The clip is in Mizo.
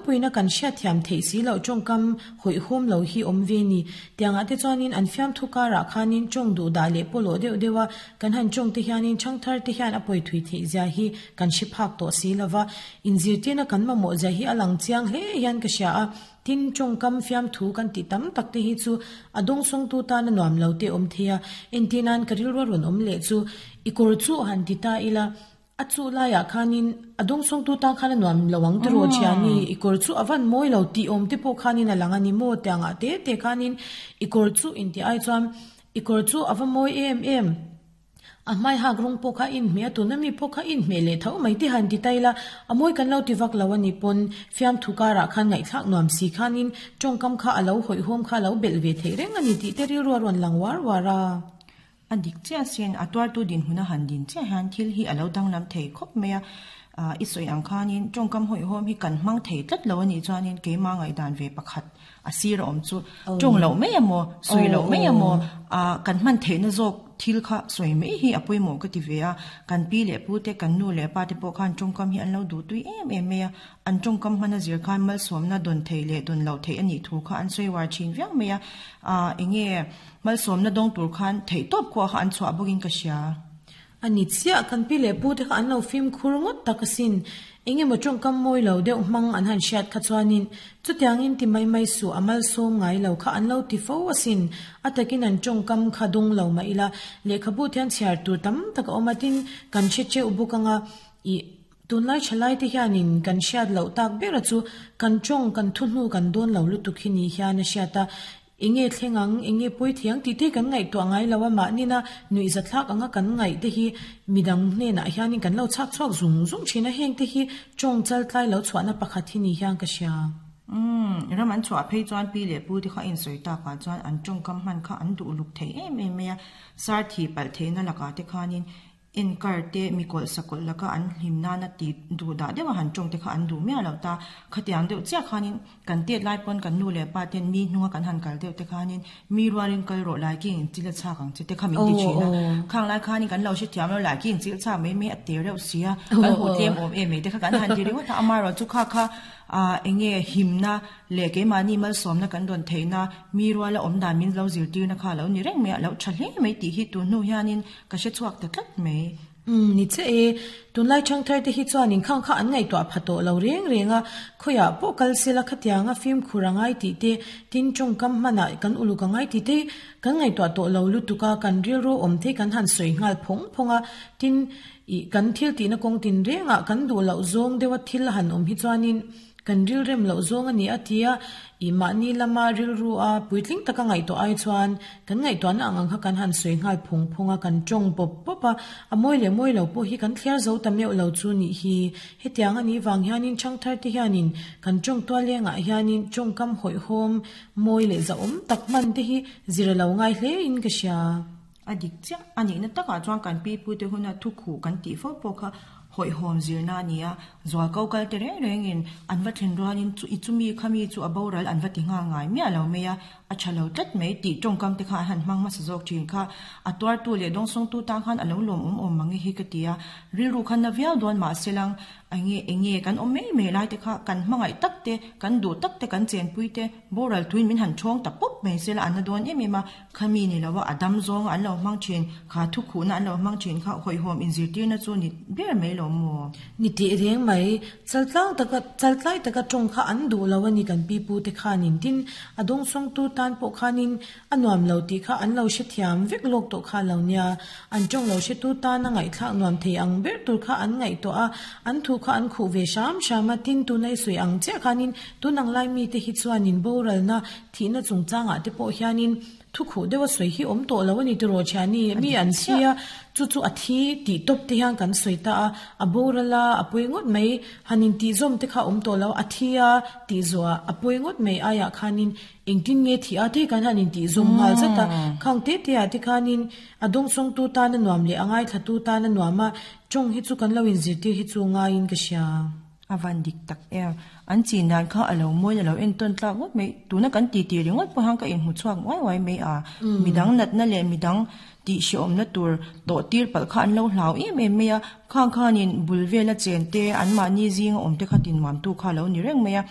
tlangpuiin a kan hriatthiam theih si loh tawngkam hawihhawm lo hi awm ve ni. Tiangah te chuanin an fiamthu karah khanin tawng duhdah leh pawlawh deuh deuh a kan han tawng te hianin thangthar te hian a pawi thui theih zia hi kan hre phak tawh si lova, inzirtirna kan mamawh zia hi a lang chiang hle hian ka hria a. Tin, tawngkam fiamthu kan tih tam tak te hi chu a dawngsawngtu tana nuam lo te awm thei a, entir nan ka rilru a rawn awm leh chu i kawr chu han ti ta ila, a chu laiah khanin a dawngsawngtu tan khan a nuam lo ang tiraw thiani, i kawr chu a van mawi lo tih awm te pawh khanin a lang a ni maw tiangah te te khanin i kawr chu intih ai chuan i kawr chu a va mawi em em. A hmai hak rawng pawh kha a inhmeh a, tuna mi pawh kha a inhmeh leh tho mai te han ti ta ila, a mawi kan lo ti vak lo a ni pawn fiamthu karah khan ngaihthlak nuam si khanin tawngkam kha a lo hawihhawm kha a lo belh ve theih reng a ni tih te rilru a rawn lang uar uar a. A dik chiah sin, a tuartu dinhmun a han din chiah hian thil hi a lo danglam thei khawp mai a, i sawi ang khanin tawngkam hawihhawm hi kan hmang thei tlat lo a nih chuanin keimah ngaihdan ve pakhat A sir a awm chu tawng loh mai emaw, sawi loh mai emaw, ah kan hman theihna zawk thil kha sawi mai hi a pawimawh ka ti ve a. Kan pi leh pu te, kan nu leh pa te pawh khan tawngkam hi an lo duh tui em em mai a. An tawngkam hmana zir khan malsawmna dawn thei leh dawn loh theih a nih thu kha an sawi uar thin viau mai a. Ah enge malsawmna dawng tur khan theih tawp khuah kha an chhuah bawkin ka hria. A ni chiah, kan pi leh pu te kha an lo fimkhur ngawt tak asin. Eng emaw tawngkam mawi lo deuh hmang an han hriat kha chuanin chutiangin ti mai mai suh a malsawm ngai lo kha an lo ti fo asin. A takin an tawngkam kha dawng lo mah ila, lehkhabu thian chhiar tur tam tak a awm a, tin kan hre teuh bawk anga ih tunlai thalai te hianin kan hriat loh tak bera chu kan tawng kan thu hnu kan dawn lo lutuk hi ni hian a hriat a. Enge thleng ang, enge pawi thei ang tih te kan ngaihtuah ngai lo a, mahnina nuih zathlak anga kan ngaih te hi midang hnenah hianin kan lo chhak chhuak zung zung thin a, heng te hi tawng chal tlai lo chhuahna pakhat hi ni hian ka hria. Umm, ram an chhuah phei chuan pi leh pu te kha insawi takah chuan an tawngkam hman kha an duh luk thei em em mai a, sar thih palh theihna lakah te khanin Enkar te, mi kawlh sakawlh laka an hlim nana ti duh dah deuha han tawng te kha an duh miah lo ta. Khatiang deuh chiah khanin kan tet lai pawn kan nu leh pa ten mi hnunga kan han kal deuh te khanin mi rualin kal rawh lai ki in chil a chhak ang che te kha min ti thin a. Khang lai khanin kan lo hrethiam lo lai ki in chil chhak mai mai a te reuh si a, kan huh tlem awm em mai te kha kan han ti ringawt a, amaherawhchu kha kha ah enge himna leh keimahni malsawmna kan rawn theihna mi ruala awm dan min lo zirtirna kha a lo ni reng mai a, a lo tha hle mai tih hi tun hnu hianin Ka hre chhuak ta tlat mai. Umm, ni che e. Tunlai thangthar te hi chuan inkhang kha an ngaihtuah pha tawh lo reng reng a, khawiah pawh kal sela khatianga fimkhur a ngai tih te, tin tawngkam hmanah kan uluk a ngai tih te kan ngaihtuah tawh lo lutuk a, kan rilru awm thei kan han sawi nghal phawng phawng a, tin ih kan thil tihna kawng tin rengah kan duh loh zawng deuha thil a han awm hi chuanin Kan rilrem loh zawng a ni a tia, ih mahni lama rilru a puitling taka ngaihtuah ai chuan kan ngaihtuahna ang ang kha kan han sawi nghal phung phung a, kan tawng pawp pawp a, a mawi leh mawi lo pawh hi kan thliar zo ta meuh lo chu nih hi. Hetiang a nih vang hianin thangthar te hianin kan tawng tual lengah hianin tawngkam hawihhawm mawi leh zahawm tak hman te hi zir a lo ngai hle in ka hria. A dik chiah a nihna takah chuan kan pi pute huna thukhuh kan tih fo pawh kha hawihhawm zirna a ni a, zualko kal te reng rengin an va thlen rualin chu i chumi khami chu a boral an va ti nghal ngai miah lo mai a, a tha lo tlat mai tih tawngkam te kha an han hmang hmasa zawk thin kha. A tuartu leh dawngsawngtu tan khan a lo lawmawm awm mang e hi ka ti a, rilru khan na viau dawn mahse lang Enge enge kan awm mai mai lai te kha kan hmangaih tak te, kan duh tak te, kan chenpui te boral thuin min han thawng ta pawp mai se la an na dawn em em a, khami ni lo a a dam zawnga an lo hmang thin kha thukhuhna an lo hmang thin kha hawihhawm inzirtirna chu ni ber mai lo maw? Ni teh reng mai, chaltlang taka chaltlai taka tawng kha an duh lo a ni kan pi pu te khanin tin a dawngsawngtu tan pawh khanin A nuam lo tih kha an lo hrethiam vek lawk tawh kha lo nia. An tawng lo hretu tana ngaihthlak nuam thei ang ber tur kha an ngaihtuah a, an thu kha an khuh ve hram hram a, tin tuna i sawi ang chiah khanin tun ang lai mite hi chuanin boralna thihna chungchangah te pawh hianin thu khuh deuha sawi hi awm tawh lo a ni tiraw thiani mi an thi a, chu chu a thi tih tawp te hian kan sawi ta a, a boral a, a pawi ngawt mai, han intihzawm te kha awm tawh lo, a thi a tih zawhah a pawi ngawt mai aiah khanin Engtin nge thih a te kan han intih zawm nghal zat a, khang te te ah te khanin a dawngsawngtu tan a nuam leh a ngaithlatu tan a nuam a, tawng hi chu kan lo inzirtir hi chu ngaiin ka hria. A van dik tak em. An chin dan kha a lo mawiin a lo entawn tlak ngawt mai. Tuna kan ti ti ringawt pawh hian ka inhmu chhuak uai uai mai a. Midang natna leh midang tih hrehawmna tur tawh tir palh kha an lo hlau em em mai a. Khang khanin bul vela chen te, anmahni zinga awm te kha tinmuamtu kha a lo ni reng mai a.